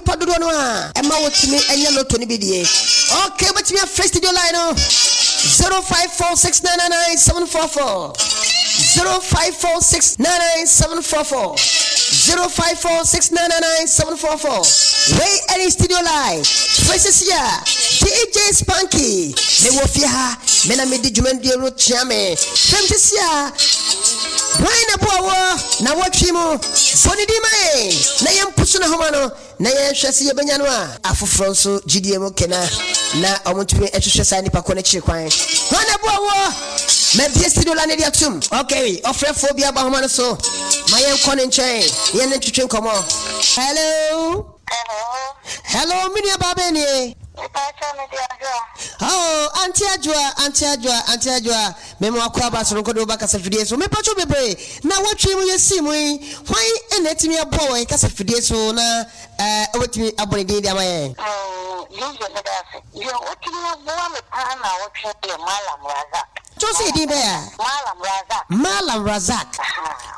nnipa dodoɔ no a ɛma wotumi nya lotto no bi die. Okay, wobɛtumi afrɛ studio line no 0546999744 0546999744 0546999744. Wei ɛne studio line. Frɛ sisi a DJ Spanky mewɔ fie ha, me na medi dwumadie no kyea me. Frɛ me sisi a hwan na boa wɔ na wɔtwe mu. Bɔ ne din ma yɛn na yɛmpusu n'ahoma no na yɛnhwɛ sɛ yɛbɛnya no a. Afoforɔ nso gyidie mu kena na wɔtumi hwehwɛ saa nipa ko no akyiri kwan. Hwan na ɛboa woɔ? Mabue studio line no de atom. Ok, ɔfrɛfoɔ bi aba ahoma no so. Ma yɛnkɔ ne nkyɛn na yɛne no ntwetwe nkɔmmɔ. Hello. Hello. Hello, me nua baa bɛn nie? Mepakyɛw me de Adwoa. Oh, Auntie Adwoa, Auntie Adwoa, Auntie Adwoa. Me mo akɔ aba soronko de wo ba kasafidie so. Mepakyɛw bebree. Na wɔtwe mu yɛsii mu yi, hwan na atumi aboa wɔ yɛn kasafidie so na eh, wobɛtumi abɔ ne din de ama yɛn? Mm, DJ meda ase. Deɛ otumi aboa me paa na wɔtwe yɛ Mallam Razak. Kyɛw sɛ edin bɛyɛ a? Mallam Razak. Mallam Razak.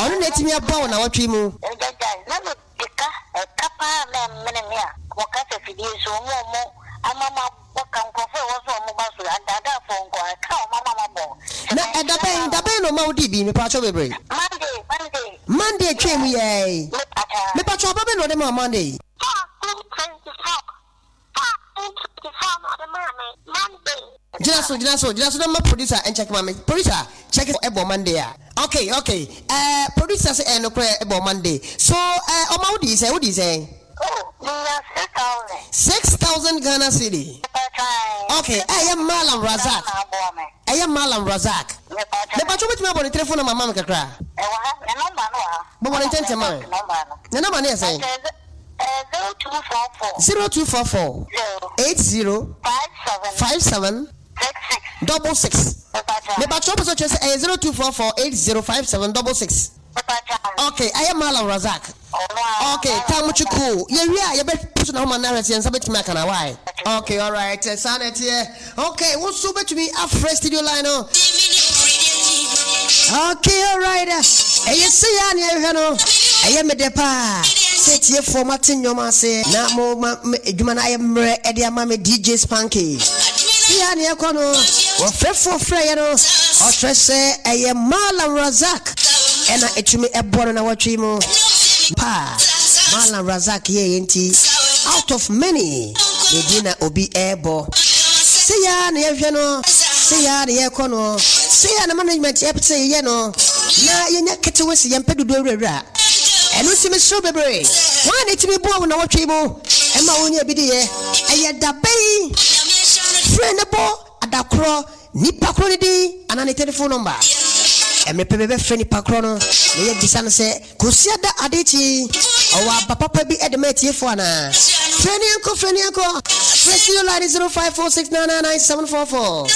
Ɔno na atumi aboa wɔ nawɔtwe mu. Ɛgyae, na me De ka, ɛka paa na ɛmene me a wɔ kasa fidie so, wɔn a wɔn ama mabɔ ka, nkurɔfoɔ a ɛwɔ sɛ wɔn ba so, adaadaafoɔ nko ara, ɛka a wɔn ama mabɔ. Sɛ Na ɛda manhyia bɛn, no da a. bɛn na ɔma wodii bi, mepaakyɛw bebree? Monday, Monday. Monday twaa mu yɛɛi. Mepaakyɛw. Mepaakyɛw aba bɛn na ɔde maa wo Monday yi? 14:24. 14:24 na ɔde maa me Monday. Gyina so, gyina so, gyina so na ma producer nkyɛke ma me. Producer, check ɛbɔ Monday a. Okay, okay. Eh, producer sɛ ɛyɛ nokorɛ ɛbɔ Monday. So, eh, ɔma wo dii sɛn, wo dii sɛn? Oh, me nya 6,000. 6,000 Ghana cedi. Okay, ɛyɛ Mallam Razak. Ɛyɛ Mallam Razak. Mepakyɛ wobɛtumi abɔ ne telephone number ma me kakra? Ɛwɔ ha, ne number no wɔ ha. Bɔbɔ ne ntɛntɛm ma me. Ne number no yɛ sɛn? 0244. 0244. 80. 57. 66. Mepakyɛ wopɛ sɛ ɔkyerɛ sɛ ɛyɛ 0244 80 57 66. Okay, ɛyɛ Mallam Razak. Okay, Tamuchi cool. Yɛwie a yɛbɛ pusu na homa no ahwɛ sɛ yɛn nsa bɛtumi aka na why? Okay, alright. Saa na ɛteɛ. Okay, wo nso wobɛtumi afrɛ studio line no. Okay, alright. Ɛyɛ sɛ yɛ a ne yɛhwɛ no. Ɛyɛ me dɛ paa sɛ tiefoɔ mate nnwom ase na mo ma adwuma no ayɛ mmerɛ ɛde ama me DJ Spanky. Sɛ yɛ a ne yɛkɔ no, wɔfrɛfoɔ frɛeɛ no, ɔkyerɛ sɛ ɛyɛ Malam Razak. Ɛna ɛtumi ɛboa no nawɔtwe yi mu paa Mallam Razak yɛɛyɛ nti out of many ne din na obi ɛɛbɔ. Sei ara na yɛhwɛ no, sei ara na yɛkɔ no, sei ara na management ɛpɛ sɛ yɛyɛ no na yɛnya ketewa si yɛmpɛ dodoɔ awurawura. Ɛno nti mesrɛ wo bebree, hwan na ɛtumi boa wo nawɔtwe yi mu ɛma wonya bi diyɛ? Ɛyɛ dabɛn? Frɛ ne bɔ adakorɔ Nipa korɔ no din anaa ne telefon nɔmba. Mmerɛ pɛ bɛbɛfrɛ nipa korɔ no na yɛabisa no sɛ, Kwasiada ade kye yi, ɔwɔ aba papa bi de ma atiefoɔ anaa? Frɛ no yɛnkɔ, frɛ no yɛnkɔ. Frɛ studio line no 0546999744.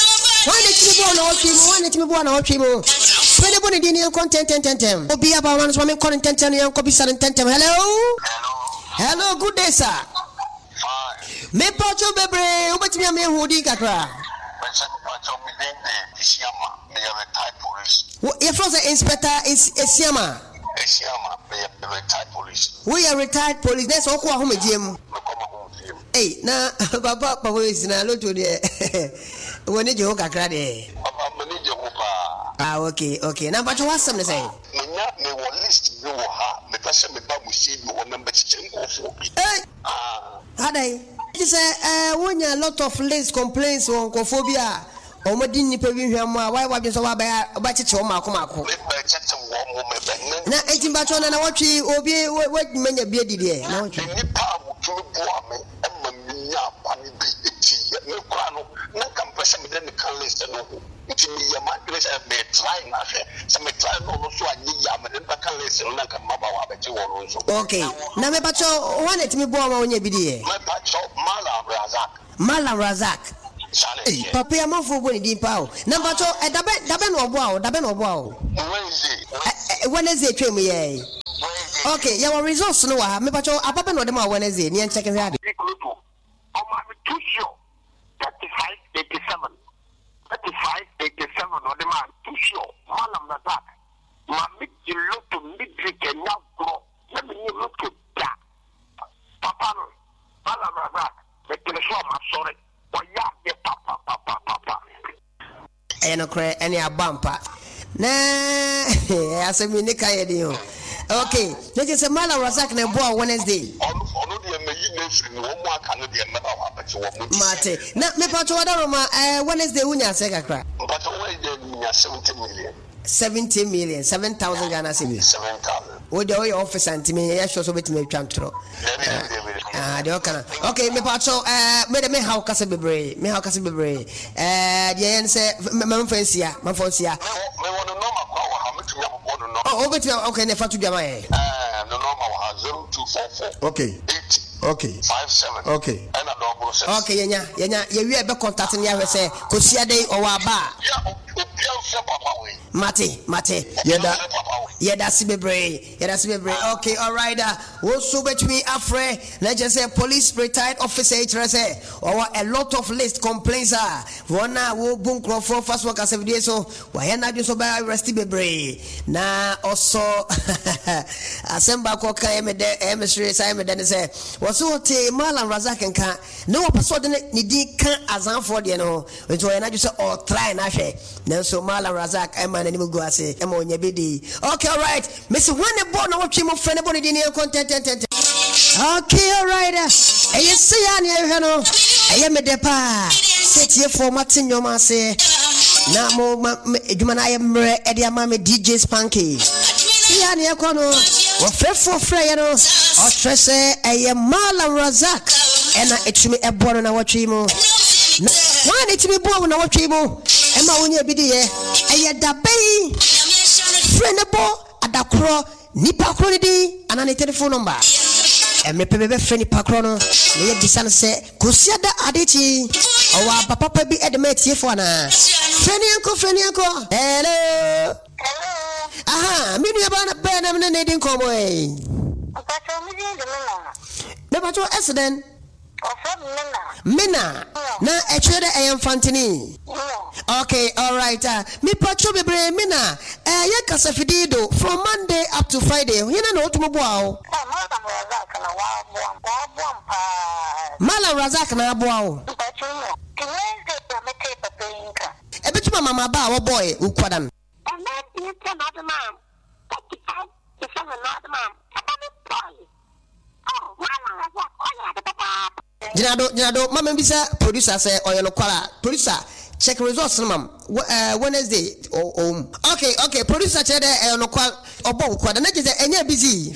Hwan na ɛtumi boa nnawɔtwe mu? Hwan na ɛtumi boa nnawɔtwe mu? Frɛ no bɔ ne din na yɛnkɔ ntɛntɛntɛntɛm. Obi aba hɔ no so ma menkɔ no ntɛntɛm na yɛnkɔ bisa no ntɛntɛm. Hello? Hello, good day sir. Fine. Mepakyɛw bebree, wobɛtumi ama yɛahu wo din kakra? Mese mepakyɛw me din de Esiama, meyɛ retired police. Wo, yɛfrɛ wo sɛ Inspector Es, Esiama? Esiama, meyɛ retired police. Woyɛ retired police, na ɛsɛ wokɔ w'ahomegyeɛ mu? Mekɔ m'ahomegyeɛ mu. Ei, na papa, papa Esi, na lotto deɛ, w'ani gye ho kakra deɛ? Papa, m'ani gye ho paa. Ah, okay, okay. Na mpakyɛw w'asɛm ne sɛn? Menya, mewɔ list bi wɔ ha, mepɛ sɛ meba mo studio hɔ na mebɛkyekyɛ nkurɔfoɔ bi. Ei! Adɛn? Gye sɛ eh, wonya lot of list complaints wɔ nkurɔfoɔ bi a wɔn di nnipa bi hwammɔ a woayɛ w'adwene sɛ woabɛyɛ wobɛkyekye wɔn mmaako mmaako. Mebɛkyekye wɔn mo, mebɛne. Na enti mpakyɛw na nawɔtwe obi woatumi anya bi adi deɛ nawɔtwe. Nnipa a wɔtumi boa me ma menya kwan bi diiɛ. Me koraa no, na nka mepɛ sɛ mede no ka list no ho. Nti meyɛɛ m'adwene sɛ me try no ahwɛ. Sɛ me try no ɔno nso anyɛ yie a, mede no bɛka list no na nka mmabaawa abɛgye wɔn nso. Ok, na mepakyɛw hwan na ɛtumi boa wo ma wonya bi diiɛ? Mepakyɛw, Mallam Razak. Mallam Razak. Saa na Ei, ɛteɛ. papa yi amanfoɔ bɔ ne din paa o. Na mpakyɛw, ɛ, dabɛn, dabɛn na ɔboa wo? Dabɛn na ɔboa wo? Wednesday. Ɛ, ɛ, Wednesday twam yɛɛ yi. Wednesday. Ok, yɛwɔ results no wɔ ha. Mepakyɛw, aba bɛn na ɔde maa wo Wednesday? Ne yɛn check nhwɛ ade. Ikorodu, Ɔmaa me too sure 3587, 3587 ɔde maa me too sure Mallam Razak ma me gye lotto midweek ɛnyɛ agorɔ na me nni lotto da papa no. Ɛyɛ nokorɛ ɛne abɔ ampa. Na asɛm yi ne ka yɛ den o. Okay, na kyerɛ sɛ Malam Razak na ɛboa wo Wednesday. Ɔno ɔno deɛ mɛyi no afiri mu, wɔn a aka no deɛ mɛba hɔ abɛgye wɔn deɛ. Mate. Na mepakyɛ w'adaroma, ɛɛ Wednesday wonya asɛ kakra? Mpakyɛ Wednesday menya 70 million. 70 million, 7,000 Ghana cedis. 7,000. Wo deɛ woyɛ officer nti menyɛ sure sɛ wobɛtumi atwa ntorɔ. Dabi dabi dabi dabi. Ah, deɛ ɔka no. Okay, mepakyɛ ɛɛ me de me haw kasa bebree, me haw kasa bebree. Ɛɛ deɛ yɛn sɛ mamfa nsia, mamfa nsia. Mewɔ ne nɔma koraa wɔ ha, mɛtumi abobɔ ne nɔma. Oh, wobɛtumi, okay, ne fa to dwa ma yɛn. Ɛɛ ne nɔma wɔ ha, 0244. Okay. 80. Okay. 57. Okay. Ɛna dɔboro six. Okay, yɛnya, yɛnya, yɛwie a yɛbɛ contact no yɛahwɛ sɛ kɔsia dɛn ɔwɔ aba a. Yeah, obia mfrɛ papa wei. Mate, mate. Yɛda. Yɛda ase bebree, yɛda ase bebree. Okay, alright. Wo nso wobɛtumi afrɛ na kyerɛ sɛ police retired officer yi kyerɛ sɛ ɔwɔ a lot of list complaints a wɔn a wɔbu nkurɔfoɔ fa so wɔ kasafidie so wayɛ n'adwene sɛ ɔbɛ arrest bebree na ɔsɔ asɛm baako ɔka ɛyɛ me dɛ ɛyɛ me sere saa ɛyɛ me dɛ ne sɛ wɔso ɔte Malam Razak nka na wɔpɛ sɛ ɔde ne din ka azanfoɔ deɛ no ho Nti ɔyɛ n'adwene sɛ ɔɔtrae no ahwɛ. Nanso Mallam Razak maa n'anim guu ase ma ɔnya bi dii. Okay alright, mese hwan ne bɔɔ nawɔtwe mu frɛ no bɔ ne din na yɛnkɔ ntɛntɛntɛntɛm. Okay alright, ɛyɛ sei ara na yɛhwehwɛ no. Ɛyɛ me dɛ paa sɛ atiefoɔ moate nnwom ase na mo ma adwuma no ayɛ mmerɛ de ama me DJ Spanky. Sei ara na yɛkɔ no. Wɔfrɛfoɔ frɛeɛ no, ɔkyerɛ sɛ ɛyɛ Mallam Razak ɛna ɛtumi ɛboa no nawɔtwe yi mu. Na hwan na etumi boa wo nnawɔtwe yi mu ma wonya bi di yɛ? Ɛyɛ da bɛn? Frɛ na bɔ ada korɔ, nipa korɔ no din anaa ne telefon nɔmba. Mmerɛ pɛ bɛbɛfrɛ nipa korɔ no na yɛabisa no sɛ, Kwasiada ade kye yi, ɔwɔ aba papa bi de ma atiefoɔ anaa? Frɛ no yɛnkɔ, frɛ no yɛnkɔ. Hello. Hello. Aha, me nuabaa na bɛn na me ne no redi nkɔmmɔ yi? Mpakyɛw, me din de Mena. Mepakyɛw, ɛse dɛn? Wɔfrɛ me Mena. Mena. Na ɛkyerɛ dɛ ɛyɛ Mfantini? No. Okay, alright. Ah, mepatwo bebree Mena. Eh, yɛ kasafidie do from Monday up to Friday, hena na ɔtumi boa wo? Oh, Mallam Razak na w'aboa m', w'aboa m' paa. Mallam Razak na aboa wo? Mpatwo no. Nti Wednesday na metee papa yi nka. Ɛbɛtumi ama m'aba a wɔbɔɔe wo kwadan. Ɛnna ntumi sɛ n'ade maa m', 35 to 7 n'ade maa m', ɛba me bɔɔe. Gyina do, gyina do, ma mibisa producer sɛ ɔyɛ nokwar a. Producer, check results no ma m'. Wɔ eh, Wednesday, ɔ ɔwɔ mu. Okay, okay, producer kyerɛ dɛ ɛyɛ nokwar, ɔbɔ wo kwa da, na kyerɛ sɛ ɛnyɛɛ busy.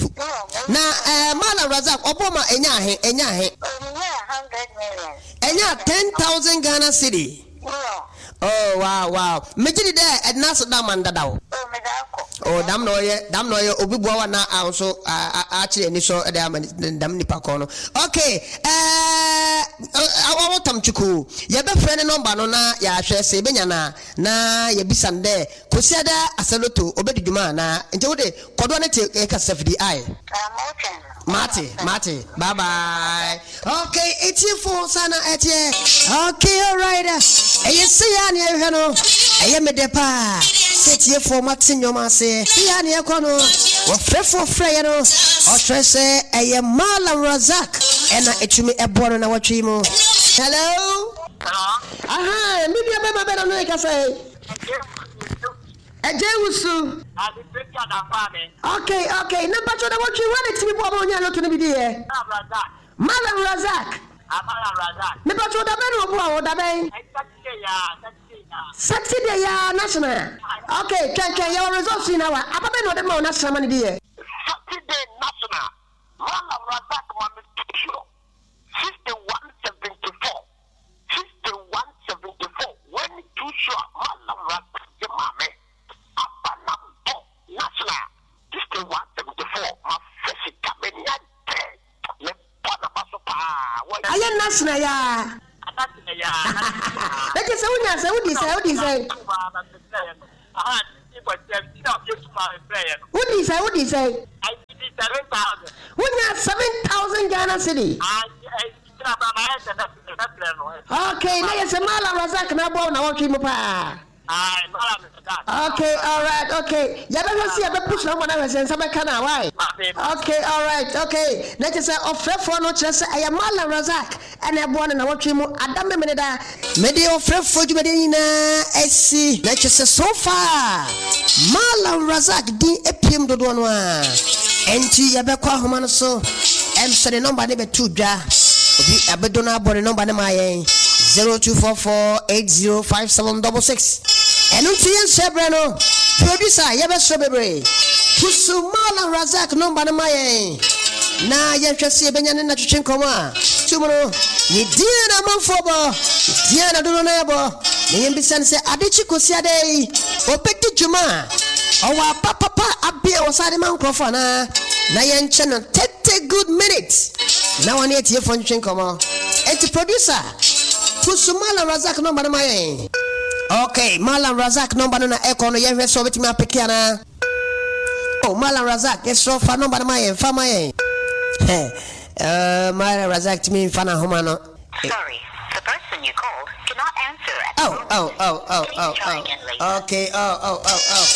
Na eh, Mallam Razak, ɔbɔɔ ma ɛnyaa ahe, ɛnyaa ahe? Ɛnyaa 10,000 Ghana cedi. Oh wow wow megye di dɛ ɛde n'ase da ama no dadaw. Oh dam na ɔyɛ dam na ɔyɛ obi boa wa na a nso akyerɛ anisɔ de ama dam nipa kɔn no. Okay ɛɛ ɔwɔ tam twuku yɛbɛfrɛ ne nɔmba no na yɛahwɛ sɛ yɛbɛnya no a na yɛbisa no dɛ Kwasiada Asɛloto obɛdi dwuma anaa nti wode kɔdoɔ no te kasafidi ae. Mate, mate. Bye bye. Okay, etiefo saa na ɛteɛ. Okay, alright. Ɛyɛ sei a nea ɛhwɛ no, ɛyɛ me dɛ paa. Sɛ etiefoɔ moate nnwom ase. Sei a nea ɛkɔ no, wɔfrɛfoɔ frɛeɛ no, ɔkyerɛ sɛ ɛyɛ Mallam Razak ɛna ɛtumi ɛboɔ no na wɔtwe yi mu. Hello? Aha, me nua bɛma bɛna no ɛkasa yi. Ɛgya wusu. Okay okay na mpatsɔ na wɔtwe hwan na tumi boa ma onyaa lotto no bi di yɛ? Mallam Razak. Me patsɔ da bɛn na ɔboa wo da bɛn? Saturday yaa national. Okay twɛn twɛn yɛwɔ results yi na wa aba bɛn na ɔde ma wo national ma no di yɛ? Saturday national Mallam Razak ma me tuo 6174. 6174 Wei ne too sure Mallam Razak de maa me Aba na bɔ National 6174 Mafɛ sika m'ani agye Me bɔ n'aba so paa Wai. Ayɛ National yaa. Na kyerɛ sɛ wonya sɛn wodii sɛn wodii sɛn. Wodii sɛn wodii sɛn. Wonya 7000 Ghana cedi. Okay, na yɛ sɛ Mallam Razak na aboa wo nawɔtwe mu paa. Aye, Malam Razak. Okay, alright, okay. Yɛbɛhwɛ sɛ yɛbɛpush na wɔn ahwɛ sɛ nsa bɛka na why? Okay, alright, okay. Na kyerɛ sɛ ɔfrɛfoɔ no kyerɛ sɛ ɛyɛ Malam Razak ɛna ɛboa no na wɔtwe mu adam memene da. Mede ɔfrɛfoɔ dwumadie nyinaa asi. Na kyerɛ sɛ so far Malam Razak din apiem dodoɔ no ara. Ɛnti yɛbɛkɔ ahoma no so. Ɛm sɛ ne nɔmba no bɛto dwa. Obi abedo no abɔ ne nɔmba no ma yɛn. 0244805766. Ɛno nti yɛnsɛ berɛ no. Producer yɛbɛsrɛ bebree. Pusu Malam Razak nɔmba no ma yɛn. Na yɛnhwɛ sɛ yɛbɛnya ne natwetwe nkɔmmɔ a. Tum no, ne din na amanfoɔ bɔ, ne din na dodoɔ no ara bɔ. Na yɛmbisa no sɛ ade kye kɔsi adɛ yi, ɔbɛdi dwuma a ɔwɔ aba papa abe a wɔsan de ma nkurɔfoɔ anaa? Na yɛnkyɛ no 30 good minutes na wɔne atiefoɔ ntwetwe nkɔmmɔ. Enti producer, pusu Mallam Razak nɔmba no ma yɛn. Okay, Mallam Razak nɔmba no na ɛkɔ no, yɛnhwɛ sɛ ɔbɛtumi apeke anaa. Oh, Mallam Razak, yɛsrɛ wo fa nɔmba no ma yɛn, fa ma yɛn. Hɛ, eh, Mallam Razak tumi mfa n'ahoma no. Sorry, the person you called cannot answer at the Oh, moment. oh, oh, oh, Please oh, try oh. again later. Okay, oh, oh, oh, oh.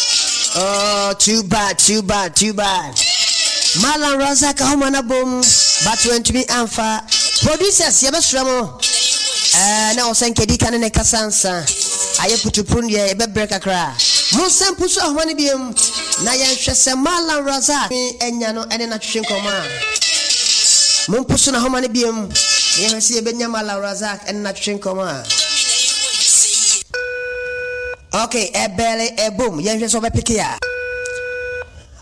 Oh, too bad, too bad, too bad. Mallam Razak ahoma no abom, but wantumi amfa. Producers, yɛbɛsrɛ mo. Ɛɛ, na ɔsɛ nka edi kan ne ne kasa nsa. Ayɛ putupuru deɛ, yɛbɛbrɛ kakra. Monsan mpusu ahoma no biom na yɛnhwɛ sɛ Mallam Razak anya no ne no atwetwe nkɔmmɔ a. Mompusu n'ahoma no biom na yɛnhwɛ sɛ yɛbɛnya Mallam Razak ne no atwetwe nkɔmmɔ a. Ok, ɛbɛɛle, ɛbom, yɛnhwɛ sɛ ɔbɛpeke a.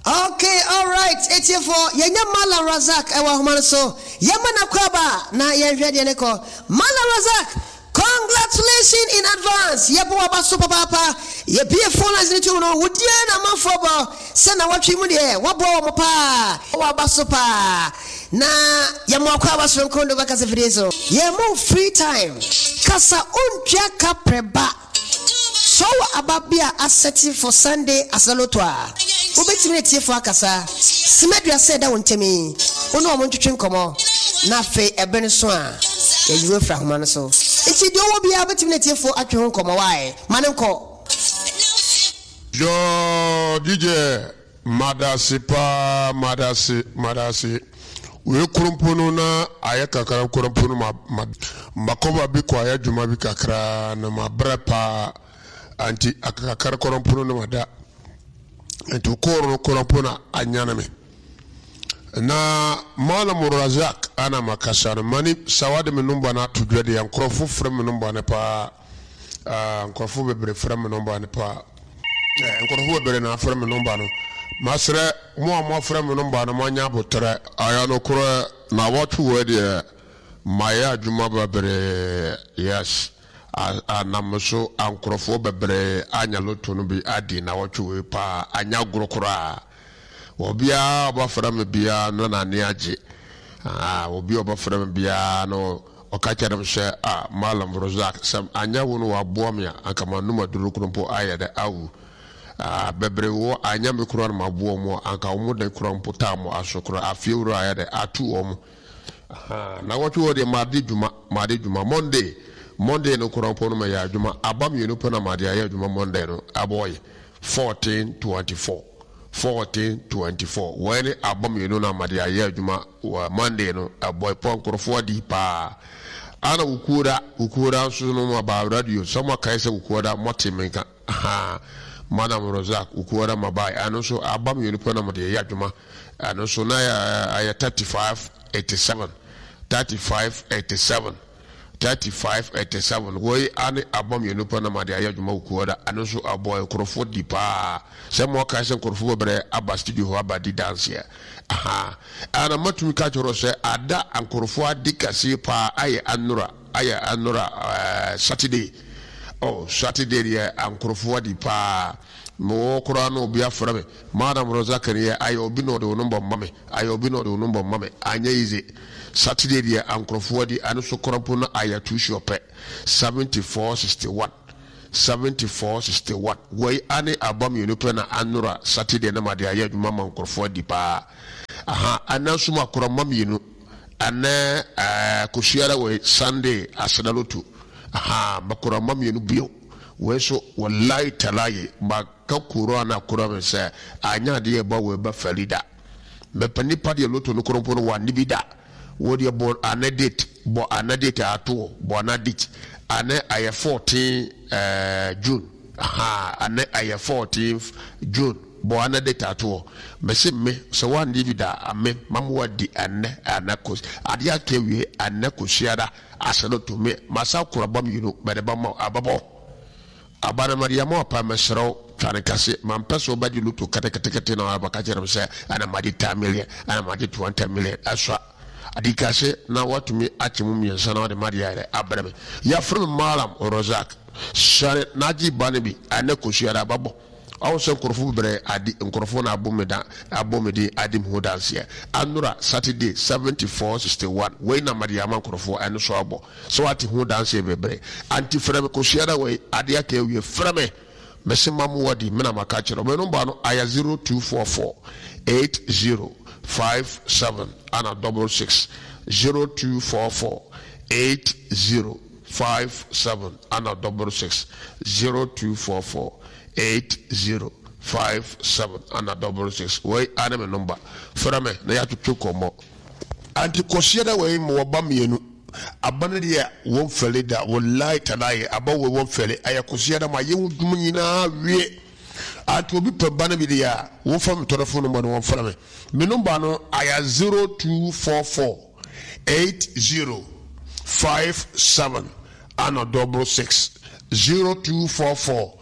Ok alright etiefoɔ yɛnya Mallam Razak ɛwɔ ahoma no so yɛma no akwaaba na yɛnhwɛ deɛ ne kɔ Mallam Razak congratulations in advance yɛbɔ waba so papaapa yɛbie phone lines no tom no wo deɛ na amanfoɔ bɔ sɛ nawɔtwe mu deɛ waboa wɔn paa waba so paa na yɛma akwaaba soronko de wobɛkasa fidie so yɛma wo free time kasa ontua ka prɛ ba. Sɛ ɔwɔ aba bi a asɛte for Sunday asɛlotɔ a, wobɛtumi ne atiefo akasa. Sima aduasa a ɛda wo ntam yi, wo ne wɔn ntwetwe nkɔmmɔ, na afei ɛbere no so a, yɛayi wo afiri ahoma no so. Enti deɛ ɔwɔ biara wobɛtumi ne atiefo atwe ho nkɔmmɔ. Wai? Ma no nkɔ. Yoo DJ Madase paa madase madase wei korompo no na ayɛ kakra korompo no ma ma makɔba bi kɔ ayɛ adwuma bi kakra na mabrɛ paa anti akakakra korompo no na mada nti kɔɔro no korompo na anyane me na Malam Razak ana makasa no mani sawade me numba no ato dwa deɛ nkorɔfo frɛ me numba no paa. Ah, nkurɔfo bebree frɛ me nɔmba no paa. Eh, nkurɔfo bebree na afrɛ me nɔmba no. Masrɛ mo a moafrɛ me nɔmba no moanya aboterɛ. Ayɛ nokorɛ, nawɔtwe wei deɛ mayɛ adwuma bebree, yes, a nam me so a nkurɔfoɔ bebree anya lotto no bi adi nawɔtwe wei paa, anyɛ agorɔ koraa. Obiara a ɔbɛfrɛ me biara no na n'ani agye. Ah, obi a ɔbɛfrɛ me biara no Ɔka kyerɛɛ me sɛ, Ah, Mallam Rozak, sɛ anyɛ wo na woaboa me a, anka manom aduro koro mpo ayɛ dɛ awu. Ah, bebree wɔ hɔ a, anyɛ me koraa na maboa wɔn a, anka wɔn de koraa mpo taa mo aso koraa. Afie wura ayɛ dɛ atu wɔn. Ahaa, nnawɔtwe hɔ deɛ made dwuma, made dwuma. Monday, Monday no koraa mpo no mɛyɛ adwuma. Aba mmienu pɛ na made ayɛ adwuma Monday no, abɔe 14:24. 14:24 Wei ne aba mmienu na made ayɛ adwuma Wɔ Monday no ɛbɔe pɔ nkorɔfoɔ adi paa ana Wukuoda Wukuoda nso no mo aba radio sɛ mo akae sɛ Wukuoda mo te me nka ahaa Madam Rozak Wukuoda ma bae ɛno nso aba mmienu pɛ na mo de yɛ adwuma ɛno nso na ɛyɛ 35 87 35 87 35 87 Woi ane aba mmienu pɛ na made ayɛ adwuma Wukuoda ɛno nso ɛbɔe nkorɔfoɔ di paa sɛ mo akae sɛ nkorɔfoɔ bɛbrɛ aba studio hɔ aba di danseɛ Ahaa ana matumi ka kyerɛ wo sɛ ada nkorɔfoɔ ade kɛseɛ paa ayɛ anora ayɛ anora ɛɛ Saturday oh Saturday deɛ nkorɔfoɔ adi paa mewɔ hɔ koraa na obi afrɛ me Madam Rosa Kaniɛ ayɛ obi na ɔde wo number ma me ayɛ obi na ɔde wo number ma me anyɛ easy Saturday deɛ nkorɔfoɔ adi ɛno so koraa mpo na ayɛ too sure pɛ 74 61. 74 61 Wei ane aba mienu pɛ na anora Saturday na made ayɛ adwuma ama nkorɔfoɔ adi paa aha ɛnɛ nso makora mma mienu ɛnɛ ɛɛ kosiara wei Sunday aseda loto aha makora mma mienu bio. Wei so wallahi talahi maka Quran akora me sɛ anyɛ adeɛ ɛba wei ba fɛli da. Mɛpɛ nipa deɛ loto no korompo no wanne bi da. Wo deɛ bɔ anɛ date bɔ anɛ date ato bɔ anɛ date anɛ ayɛ 14 eh, June ha anɛ ayɛ 14 June bɔ anɛ date ato. Mɛse me sɛ wanne bi da ame mama wadi anɛ anɛ kos adeɛ aka wie anɛ kosiada asɛ no to me masa kora ba mmienu mɛde ba ma ababɔ. Aba no mede ama wo paa mesrɛ wo twa no kɛse mampɛ sɛ wobɛgye loto keteketekete na wabɛka kyerɛ me sɛ ɛna magye 10 million ɛna magye 20 million ɛsua adi kɛse na watumi akyɛ mu mmiɛnsa na wode madeɛ ayɛ dɛ abrɛ me. Yɛfrɛ me Mallam Razak sane na agye ba no bi ɛnɛ kɔsiada ababɔ. Ɔho sɛ nkorɔfo bebree adi nkorɔfo na abo me da abɔ me din adi me ho danseɛ. Anora Saturday 74 61 wei na mede ama nkorɔfoɔ ɛno so abɔ sɛ wate ho danseɛ bebree. Anti frɛ me kosiada wei adeɛ aka awie frɛ me mese ma mo wadi me na maka akyerɛ wo. Me number no ayɛ 0244 80 57 ana double 6 0244 80 57 ana double 6 0244 80 57 ana double 6 wei ane me number frɛ me na yɛatwetwe nkɔmmɔ. Anti kɔsiada wei mewɔ ba mmienu aba no deɛ wɔn fɛle da walayi talayi aba wei wɔn fɛle ayɛ kɔsiada ma yɛ ho dwuma nyinaa wie anti obi pɛ ba no bi deɛ a wɔn fa me tɔrɔfo number no wɔn frɛ me me number no ayɛ 0244 80 57 ana double 6 0244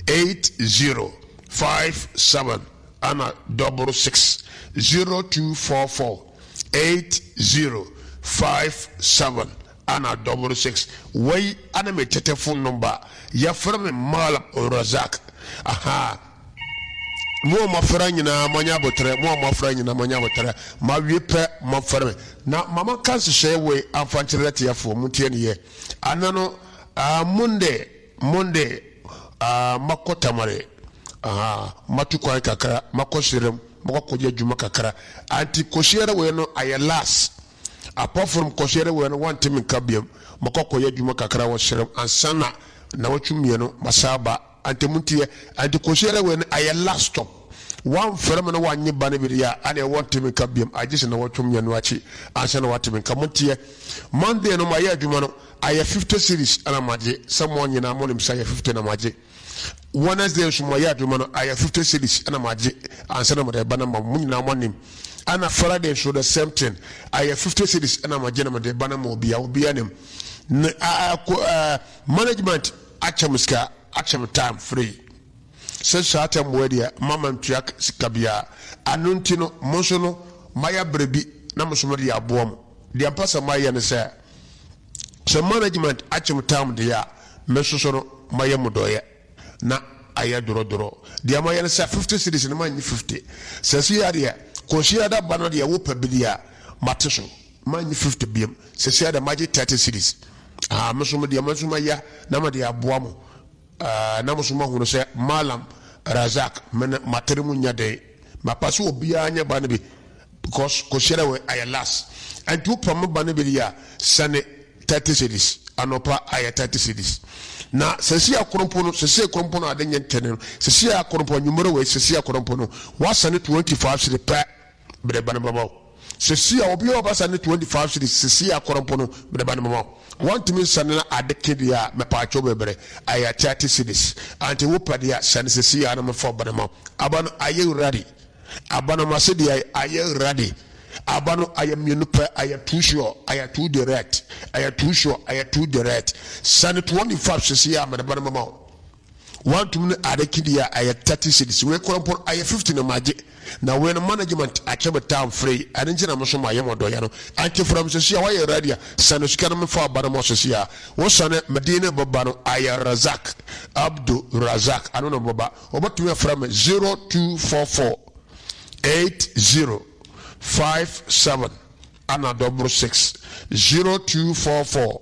80 57 ana double 6 0244 80 57 ana double 6 wei ana me tete phone number yɛfrɛ me Malam Razak. Aha mo a moafra nyinaa moanya abotrɛ, mo a moafra nyinaa moanya abotrɛ, mawie pɛ moafrɛ me na mama ka nhyehyɛeɛ wei amfa nkyerɛ atiafoɔ, montie ne yɛ ana no. Monday Monday makɔ Tamale, aha matu kwan kakra makɔ Serem makɔ kɔyɛ adwuma kakra anti kɔsiara wei no ayɛ last apart from kɔsiara wei no wante me nka biam makɔ kɔyɛ adwuma kakra wɔ Serem ansa na nawɔtwe mmienu masa aba anti montiɛ anti kɔsiara wei no ayɛ last stop wamfrɛ me na wanye ba no bi deɛ a ɛne wɔnte me nka biam agye sɛ nawɔtwe mmienu akyi ansa na wate me nka. Montiɛ Monday no mayɛ adwuma no ayɛ 50 series ɛna magye sɛ mo nyinaa mo nim sɛ ayɛ 50 na magye. Wednesday nso mayɛ adwuma no ayɛ 50 series ɛna magye ansa na mede ba no ma mo nyinaa mo anim. Ɛna Friday nso the same thing ayɛ 50 series ɛna magye na mede ba no ma obia obia nim. Ne management akyɛ mo sika akyɛ mo time free sɛ saa time wɔ deɛ mama ntua sika biara ano nti no mo nso no mayɛ berɛ bi na mo nso mo de aboa mo. Deɛ mpɛ sɛ mayɛ ne sɛ sɛ management akyem tam deɛ a me nso so no mayɛ mo dɔyɛ na ayɛ dorɔdorɔ. Deɛ mayɛ ne sɛ 50 cedis no mannye 50. Sɛ si adeɛ kɔsi ada ba no deɛ wopɛ bi deɛ a mate so mannye 50 biam. Sɛ si adeɛ magye 30 cedis. Ah, me nso deɛ me nso mayɛ na mede aboa mo. Ah, na mo nso moahunu sɛ Malam Razak me no matere mu nyɛ den. Mapa sɛ obiara nyɛ ba no bi because kɔsiara wei ayɛ last. Ɛnti wopɛ mo ba no bi deɛ a sɛne 30 cedis anɔpa ayɛ 30 cedis. Na sɛsi akorompo no sɛsi akorompo no ade nyɛ ntɛne no sɛsi akorompo anwummerɛ wei sɛsi akorompo no wasɛne 25 cedis pɛ mede ba no bɛma wo. Sɛsi a obi a ɔba sɛne 25 cedis sɛsi akorompo no mede ba no bɛma wo. Wɔntumi nsɛne no ade ke deɛ a mepaakyɛw bebree ayɛ 30 cedis. Anti wopɛ deɛ a sɛne sɛsi a na mefa ba no ma wo. Aba no ayɛ ready. Aba no mase deɛ ayɛ ready. Aba no ayɛ mmienu pɛ ayɛ too sure ayɛ too direct ayɛ too sure ayɛ too direct. Sɛne 25 sɛsi a mede ba no bɛma wo. Wantumi no ade ke deɛ a ayɛ 30 cedis. Wei koraa mpo no ayɛ 50 na magye. Na wei no management akyɛ me time free ɛno nti na me nso mayɛ mo dɔyɛ no. Anti from sɛsi a wayɛ ready a sɛne sika no mefa aba no ma sɛsi a. Wo sɛne me din no bɛba no ayɛ Razak Abdu Razak ano na bɛba. Wɔbɛtumi afrɛ me 0244 80 57 ana double 6 0244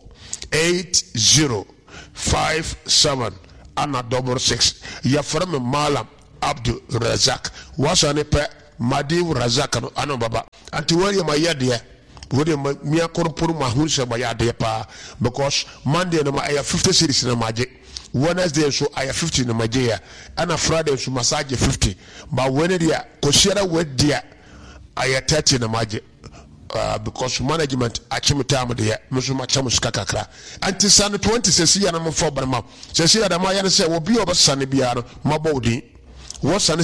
80 57 ana double 6. Yɛfrɛ me Malam Abdu Razak. Wasane pɛ Madi Razak no ano baba. Anti wɔn yɛ ma yɛ deɛ. Wei deɛ ma mia koro mpo no mahu sɛ mayɛ adeɛ paa because Monday no ma ɛyɛ 50 cedis na magye, Wednesday nso ayɛ 50 na magye yɛ, ɛna Friday nso masa agye 50, but wei no deɛ Kwasiada wei deɛ ayɛ 30 na magye. Uh, because management akye me time deɛ, me nso makyɛ mo sika kakra. Ɛnti sane 20 sɛsi yɛ na momfa ɔba no ma. Sɛsi yɛ dɛm ayɛ no sɛ obi a ɔbɛsane biara no mabɔ wo din. Wɔsane.